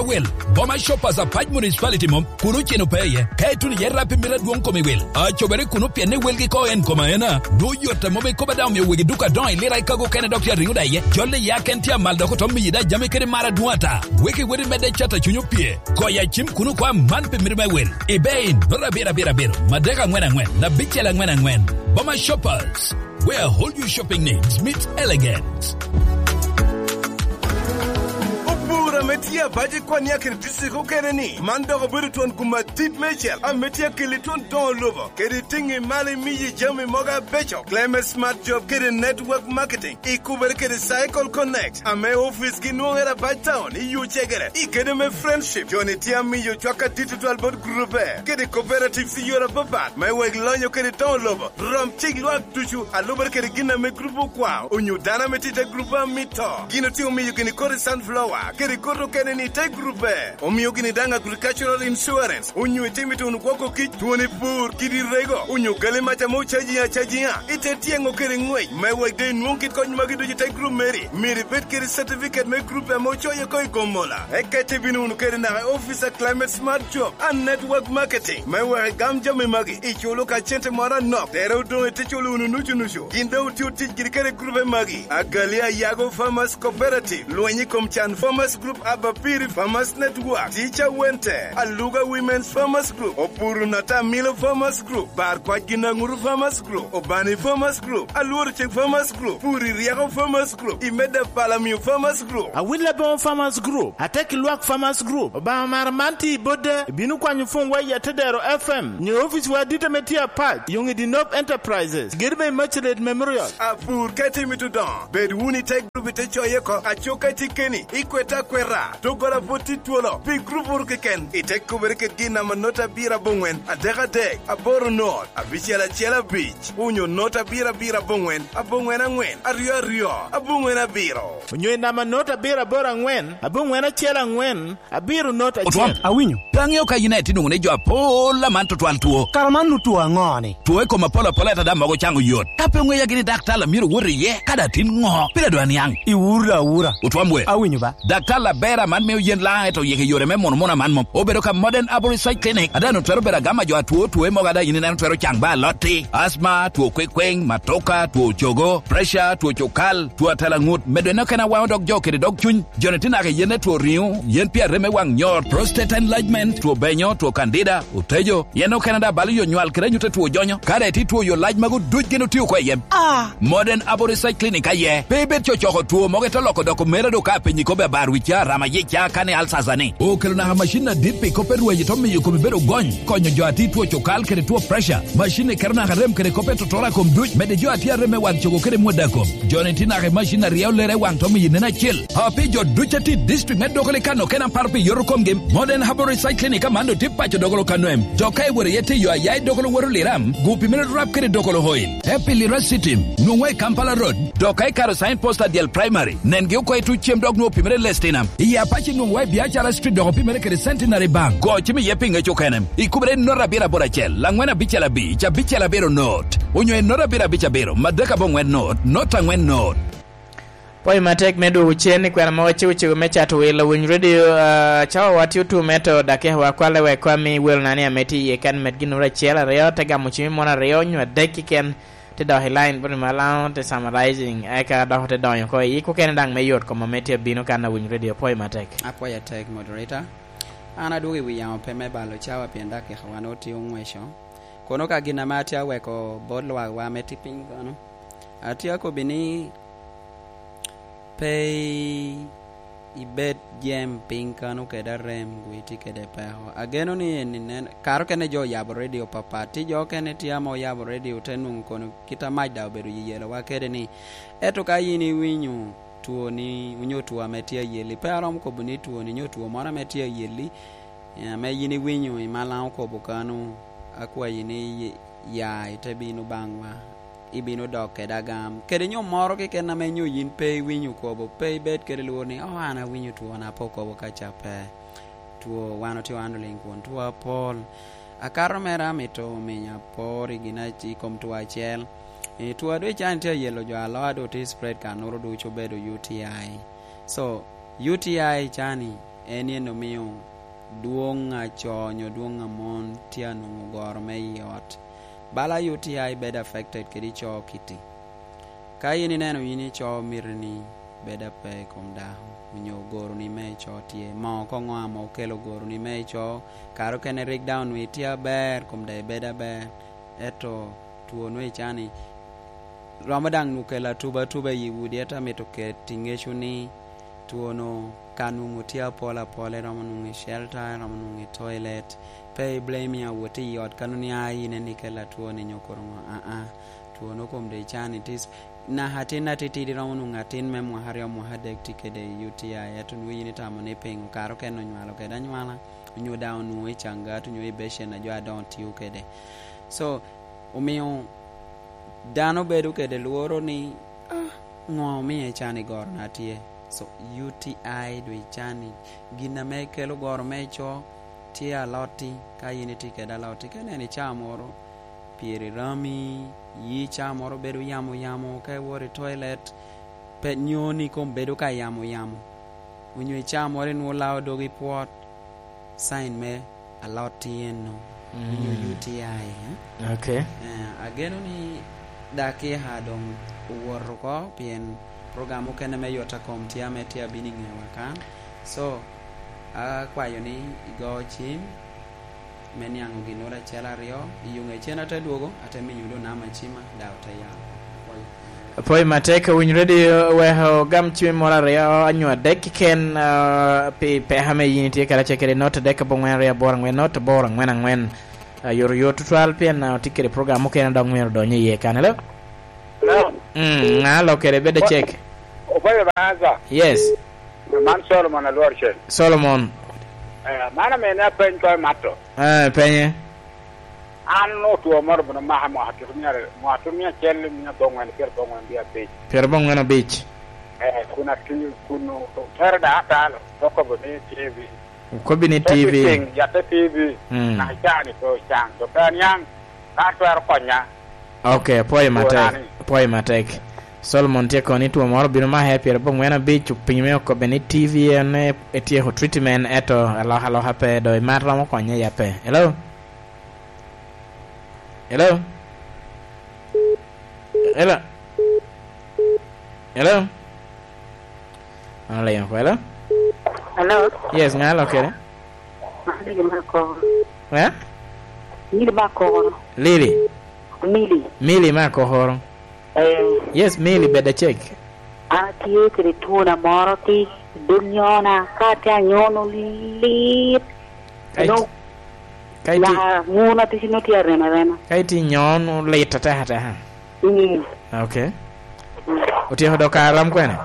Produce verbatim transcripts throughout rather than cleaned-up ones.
Wel, Boma Shoppers Apac Municipality mom, kun oceno pe iye. Ka ituno iye rap i mito adwoŋ kom i wel, acobere kuno pien ni welgi ko en kom aena. Dwoŋ yot a mom ikobo daŋ omio wegi duka adoŋo i lira i kago kene dok tye ariŋo da iye. Jol i ya ken tye amal dok oto miyi da jami kede mar adwoŋ ata. Weki weri medde cat a cuny opye. Koya cim kuno kwa man pi mito me wel. Ibe in, nota abiro abiro abiro, madek aŋwen aŋwen, abicel aŋwen aŋwen. Boma Shoppers, where all your shopping needs meet elegance. Opur ame tye abac i kwan ya kede district okene ni, man dok obedo twon gum adit mecel ame tye akeli twon doŋo lobo, kede tiŋi malo imiyi jami mogo abeco. Clement Smart Job kede Network Marketing, ikubere kede Cycle Connect, ame ofice gi nwoŋere abac town i yo cegere, i kede me Friendship. Joni tye amiyo cwak adit tutwal bot groupe, kede cooperatives i yore apapat, me wek lonyo kede doŋo lobo. Rom cik lwak ducu, a lubere kede gin ame grup okwao, onyo dano ame tye i te grup a mito. Gin otye omiyo gini kodi sunflower, kede kodi okene ni te grupe. Omio gini daŋ agricultural insurance, onyo itimo ituno gwoko kic, twoni pur, kidi rego, onyo gali mac ame ocaji acajiŋa. Ite tyeŋo kede ŋwec, me wek de inwoŋ kit kony magi ducu i te grup meri. Myero ibed kede certificate me grup ame ocoye ko i Gomola. Eka ite bino wunu kede naka i office a Climate Smart Job and Network Marketing, me wek igam jami magi. Iculo ka cente moro anok, tere odoŋ ite culo wunu nucu nucu. Gin doŋ otye otic giri kede grupe magi: Agali Ayago Farmers Cooperative, Lweny i kom Can Farmers Group, Abapiri Farmers Network, Teacher Wente, Aluga Women's Farmers Group, Opuru Natamilo Farmers Group, Bar Kwac Ginaŋuru Farmers Group, Obani Farmers Group, Alworo Ceng Farmers Group, Puri Ryeko Farmers Group, Imeda Palamio Farmers Group. Awil Aboŋo Farmers Group, Ateki Lwak Farmers Group, Obaŋa Mara man tye i Bodde, ibino kwanyo pwonywa i Atedero F M, nyo oficwa adit ame tye apac, Yoŋ i Dinop Enterprises, gedo me Immaculate Memorial. Apur ka itimo ituno, bed wunu i te gurup ite coye oko, aco ka itye keni, ikwete akweta, doggola pwod tye twolo, pi gurup wunu keken, ite kubere kede gin namba not abiro aboŋwen, adek adek, aboro not, abicel acel abic, onyo not abiro abiro aboŋwen, aboŋwen aŋwen, aryo aryo, aboŋwen abiro. Onyo i namba not abiro aboro aŋwen, aboŋwen acel aŋwen, abiro not acel. Otwom, awinyo. Pe aŋeo ka yin aye tye nwoŋo ni jo apol aman tutwal two. Kara man nu two aŋo ni? Two i kom apol apol ata daŋ mogo caŋo yot. Ka pe oŋeya gini daktar a myero owot iye, kadi atin ŋo, pire doŋ aniaŋ. Iwuro awura. Otwom we. Awinyo ba. Daktar aber aman mio yen laŋ, ento oyiko i yore me muno muno aman mom. Obedo ka Modern Arborist Side Clinic, a daŋ twero bedo agama jo atwo two mogo a daŋ yin ineno twero caŋ ba alotti, asma, two kwekweng, matoka, two cogo, pressure, two cukal, two atela ŋut, medo en okene awaŋo dog jo kede dog cuny. Joni tye naka i yen me two riŋo, yen pi arem me waŋ nyor, prostate enlargement, two benyo, two candida, otejo, yen okene daŋ balo yo nywal kede anyut a two jonyo. Ka daŋ itye two yo lac magu duc gin otio oko i yem. Ah! Modern Abo Research Clinic aye. Pe ibed cocoko two mogo ite loko doko mera do ka apenyi kobbe abar wicca, rama yicca, kane alsasa ni. Okelo naka macin adit pi kop me rweny ito miyo komi bedo gony, konyo jo a tye two cukal kede two pressure. Macin-ni keto naka rem kede kop me totora kom duc, medde jo a tye arem me wang cogo kede mwodda kom. Joni tye naka i macin a ryeo lere i wang to miyo nen acel. A pi jo duc a tye i district me Dogolo i Kano kena paro pi yoto komgi, Modern Herbal Research Clinic aman otye paco Dogolo Kano em. Dok ka iwoto iye tye yo aya i Dogolo woto Liram, gu pimere rap kede Dogolo Oil. Happy Lira City, nwoŋwa i Kampala Road. Dok ka ikato sign post adyel primary, nengi oko i tuc cem dok nwoŋo pimere Lestinam. I Apac nwoŋwa i Biacara Street dok opimere kede Centenary Bank. Go cim iye pi ŋec okene. Ikubere i not abiro aboro acel, angwen abicel abic, abicel abiro not. Onyo i not abiro abic abiro, madek aboŋwen not, not angwen not. Pwoyo matek me dwogo cen i kwena mogo cego cego me cato wil Lawiny Radio, ah, cawa wa tye otum, ento dakika wa kwale wek kwan mi welo na ni ame tye iye kan med gin oro acel aryo, te gamo cim i mon aryo nyo adek kiken, te dok i line bot i malaŋo, te summarizing, eka dok te donyo oko i yik okene daŋ me yot kom ame tye abino kan Lawiny Radio. Pwoyo matek. Apwoyo atek, moderator. An adwogo i wi yamo pe me balo cawa pien dakika wa nwoŋo tye oŋweco. Kono ka gin ame atye aweko bot lwakwa ame tye piny kono, atye akobbi ni pe i-, ibed jem piny kano kede arem, gu itye kede peko. Ageno ni eni nen, kare okene jo oyabo redio papat, tye jo okene tye ame oyabo redio te nwoŋo kono kit a mac daŋ obedo yeyelowa kede ni, ento ka yin iwinyo twoni, onyo two ame tye ayeli, pe aromo kobo ni twoni, onyo two moro ame tye ayeli, ame yin iwinyo i malaŋ okobo kano, akwayi ni ya ite bino baŋwa, ibino dok kede agam. Kede nyo moro keken ame nyo yin pe iwinyo okobo, pe ibed kede lworo ni, "Oh, an awinyo twona pe okobo ka ca." Pe. Two, wan otye wan oliŋ kun two apol. Akato mere amito ominya apor i gin ac-, i kom two acel. E, two a doŋ ican tye ayelo jo aloa doŋ tye spread ka noro ducu obedo U T I. So, U T I cani, en yen omio dwoŋ a co onyo dwoŋ a mon tye anwoŋo goro me i ot. Bala U T I bedo affected kede co kiti. Ka yin ineno yin ico miti ni bedo ape i kom dako, onyo goroni me ico tye, mo koŋo ame okelo goroni me ico, kare okene rik daŋ onwoŋo itye aber, kom daŋ ibedo aber, ento two nwoŋo ican ni romo daŋ nwoŋo kelo atuba atuba i udi, ento amito ket i ŋeco ni two-nu ka nwoŋo tye apol apol, eromo nwoŋo i shelter, eromo nwoŋo i toilet, pe i blame awot i ot ka nwoŋo ni, "Ah, in en ikela two-ni," nyo koro ŋo, aa. Two-nu kom doŋ ican ni tis-, naka atin atitidi romo nwoŋo atin me mwaka aryo, mwaka adek tye kede U T I, ento nwoŋo yin itamo ni piŋo kare okene onywalo kede anywala, onyo daŋ onwoŋo i caŋgat, onyo i becen a jo adoŋo tio kede. So, omio dano bedo kede lworo ni, "Ah, ŋo omio ican i gorona tye?" So, U T I doŋ ican ni gin ame kelo goro me co tye alotti, ka yin itye kede alotti, ka ineno i caa moro, pyere rami, yi caa moro bedo yamo yamo, ka iwoto i toilet, pe nyoni kom bedo ka yamo yamo, onyo i caa moro inwoŋo lao dogi pwot, sign me alotti eno, onyo Mm. U T I, eh? Okay. Eh, ageno ni dakika doŋ owot oko, pien program okene me yot a kom tye ame tye abino i ŋewa kan. So, akwayo ni igo cim me niaŋ oginnoro acel aryo, i yo ŋe cen ate dwogo, ate miyo doŋ namba cima, daŋ ote yao. Apwoyo. Apwoyo matek, owiny ready, weko gam cim moro aryo, onyo adek keken, ah, pi peko ame yin itye kede acel kede, not adek abongwen aryo aboro angwen, not aboro angwen angwen. Ah, yot yot tutwal pien, ah, otye kede program mukene dok myero odony iye kan. Hello? Hello? Mm, ŋa alo kede bed acek? Obayo Baza. Yes. Man Solomon Alwor Cel. Solomon. Eh, man ame ne apeny ko i mato. Eh, penye. An otwo moro bino maka mwaka tutumia, mwaka tutumia acel, mia abongwen, pyerabongwen gi abic. Pyerabongwen abic. Eh, kun ati-, kun otero da atalo, to okobo ni T V. Okobbi ni T V. Everything, yatte T V. Mm. Na cani pe ocan, to pe aniaŋ, ka twero konya. Ok, apwoyo matek. Apwoyo matek. Solomon tye kono ni two moro obino make pyerabongwen abic, opinyo me okobbe ni T V en, eh, etyeko treatment, eto alokaloka pe, do imat romo konye ya pe. Hello? Hello? Hello? Hello? Ano leyo kwela? Hello? Yes, ŋa alo kede? Mili me Akoro. Eh? Mili me Akoro. Lili? Mili. Mili me Akoro. Eh. Yes, Mili, bed acek. An atye kede twona moro tic, dog nyona, ka atye anyono lit. Ka it-, no. Ka iti-, nyaka ŋuna tic no tye arem arema. Ka itye nyono lit ateka ateka. Mm. Ok. Mm. Otyeko dok kare rom kwene?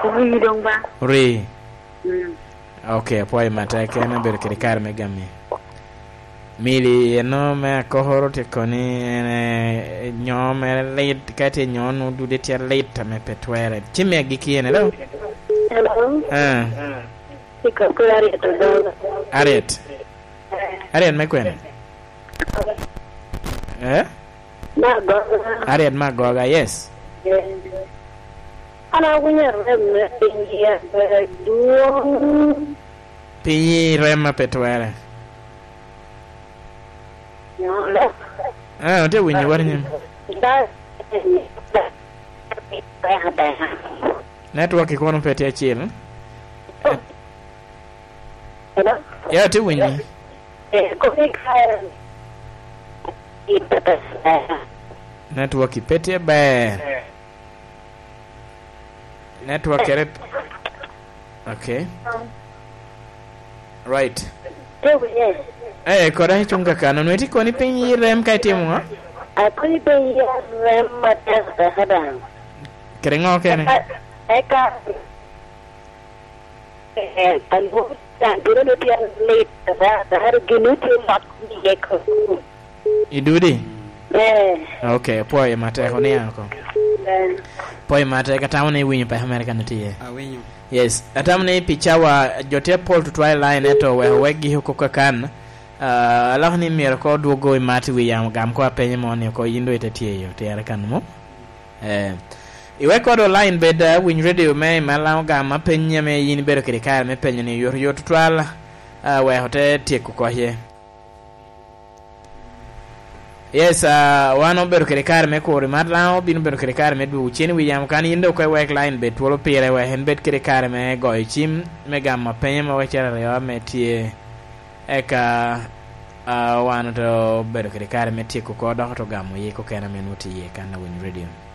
Ori doŋ ba. Ori. Mm. Ok, apwoyo matek, en obedo kede kare me gami. Mili eno me Akokoro tye koni en, eh, nyo mere lit, ka tye nyo nwoŋo dude tye lit ame pe twere. Ci me agikki en, hello? Hello? Ah. Tye ka kwero Harriet Odoŋo. Harriet? Harriet me kwene? Eh? Me Agoga. Harriet me Agoga, yes. Eh. An awinyo rem me piny i adwoŋ. Piny i rem ma pe twere. Nyolo. Ah, atye winyo wot nyim. Da-, da-, da-, da-, da-, network i kono pe tye acel. Eh. Hello? Ya, atye winyi. Eh, koni ka, eh, network i pe tye ber. Network kere. Ok. Right. Tye winye. Eh, koda icung kakano. Nwe tye koni piny i rem ka itimo ŋo? Akoni piny i rem matek, tek daŋ. Kede ŋo kene? Eka, eka, Eh, alwor can bino ni tye lit, da, da, gin ni tye lok ni ye ko. I dudi? Eh. Ok, apwoyo matek, oniaŋ oko. Eh. Apwoyo matek, atamo ni iwinyo peko mere kan itye iye. Awinyo. Yes, atamo ni pi cawa, jo tye apol tutwal i line, ento wek owekgi oko kakan. Ah, aloko ni myero ko dwogo i mat wi yamo gam ko apenye mo ni ko yin do ite tye yo, tyere kan mo? Eh, Iwek kodo line bed, ah, winy radio me i Malaŋo gam apenyi ame yin ibedo kede kare me penyo ni yot yot tutwal, ah, wek ote tyeko koce. Yes, ah, wan obedo kede kare me kuro i Malaŋo, bino bedo kede kare me dwogo cen i wi yamo kan yin dok iwek line bed twolo pire wek en bed kede kare me goyo cim, me gamo apenyo mo wek cero aryo ame tye. Eka, ah, wan ote obedo kede kare me tyeko oko dok ote gamo yik okene ame nwoŋo tye iye kan a winy radio.